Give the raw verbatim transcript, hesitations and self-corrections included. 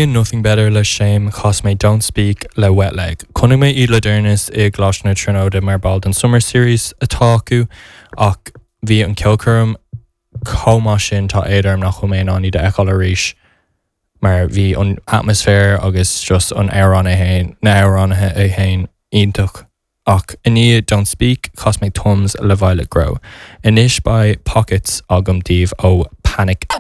Nothing Better le Shame chas mé Don't Speak le Wet Leg. Chonaic mé iad le deireanas i gColáiste na Tríonóide mar ball den Summer Series atá acu ach bhí an ceolchoirm chomh maith sin tá éad orm nach bhfuil mé in ann iad a fheiceáil arís mar bhí an atmaisféar agus just an amhrán é féin na hamhránaithe é féin iontach. Ach i ndiaidh Don't Speak chas mé Tums le Violet Grow. Anois beidh Pockets agam daoibh ó Panic.